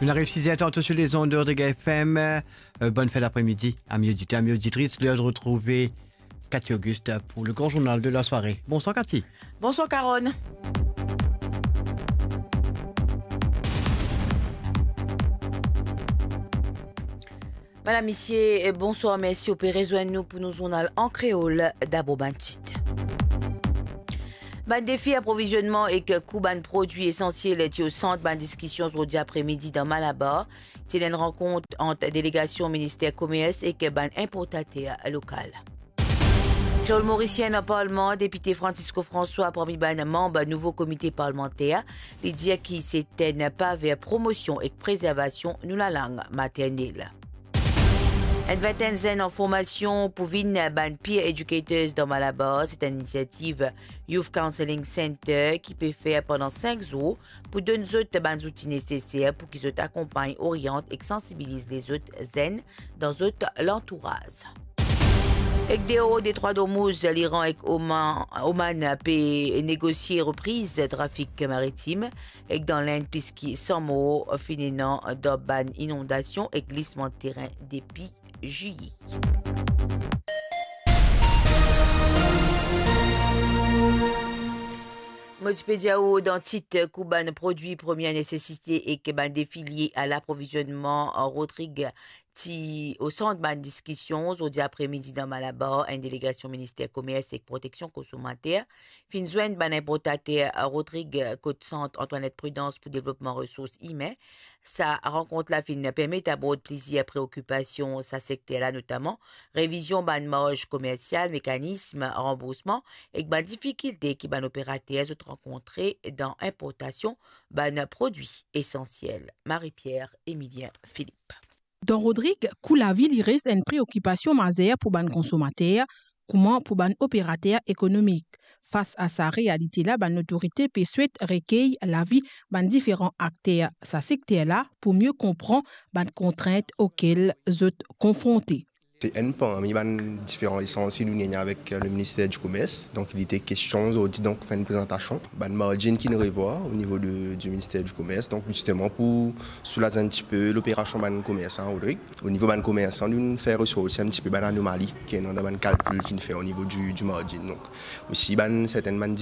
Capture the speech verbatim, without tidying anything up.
Il arrive six heures trente sur les ondes de Rodrigues F M. Euh, bonne fin d'après-midi, amis auditeurs, amis auditrices. L'heure de retrouver Cathy Auguste pour le grand journal de la soirée. Bonsoir Cathy. Bonsoir Carole. Madam, misie, eh, bonswar, mersi. Ou pe rezwenn nou pou nou zournal an kreol. Dabor bann tit. Bann defi aprovizionman ek kou bann prodwi esansiel ti o sant bann diskision zordi apremidi dan Malabar. Ti ena enn rankont ant delegasion Minister Komers ek bann inportater lokal. Kreol Morisien dan Parlman, Depite Francisco François parmi bann manb nouvo komite parlmanter, li dir ki se tenn pa ver promosion ek prezervasion nou lalang maternel. Enn vintenn zenn an formasion pou vinn bann peer educators dan Malabar, se enn inisiativ Youth Counselling Center ki pe fer pandan sink zour pou donn zot bann zouti neseser pou ki zot akonpagn, oriant ek sansibiliz lezot zenn dan zot lantouraz. Ek deor Detrwa Dormouz, Liran ek Oman, Oman pe negosie repriz trafik maritim, ek dan Lenn plis ki san mor finn ena dan bann inondasion ek glisman terin depi Zilye. Mo ti pe dir ou dan tit, kou bann prodwi premie nesesite ek bann defi lie a laprovizionman, Rodrig ti o sant bann diskision zordi apremidi dan Malabar, enn delegasion Minister Komers ek Proteksion Konsomater finn zwenn bann inportater Rodrig kot Sant Antoinette Prudence pou devlopman resours imin. Sa rankont la finn permet abord plizier preokipasion sa sekter la, notaman revizion bann marz komersial, mekanism ranboursman ek bann difikilte ki bann operater zot rankontre dan inportasion bann prodwi esansiel. Marie-Pierre Emilien Philippe. Dan Rodrig, kou lavi li res enn preokipasion mazer pou bann konsomater, kouma pou bann operater ekonomik. Fas a sa realite la, bann lotorite pe swet rekey lavi bann diferan akter sa sekter la pou mie konpran bann kontrint okel zot konfronte. Se enn parmi bann diferan esanz ki nou ena avek, euh, le Minister du Commerce. Donk, li ti kestion zordi, donk, fer enn prezantasion. Bann margin ki nou revwar o nivo de, du Minister du Commerce. Donk, zisteman, pou soulaz enn tipe loperasion bann komersan, Rodrig. O nivo bann komersan, nou fer resorti enn tipe bann anomali ki ena dan bann kalkil ki nou fer o nivo du, du margin. Donk, osi, bann sertenn bann